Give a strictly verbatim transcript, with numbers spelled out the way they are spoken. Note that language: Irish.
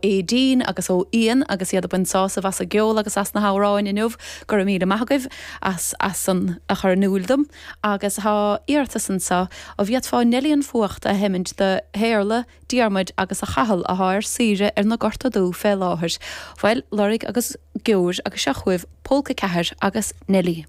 Aideen agus ó Ian agus iad ag baint sásamh as an gceol agus as na hamhráin inniu go raibh míle maith agaibh as as san a chur in iúl dom agus tá iarratas anseo an bhféadfá Neilí an Fuacht a sheimint do Shéarla, Diarmuid agus a Chathal atá ar saoire ar na Gorta Dubh fé láthair. Bhuel, lorg agus geobhair agus seo chugaibh Pólca ceathair agus Neilí.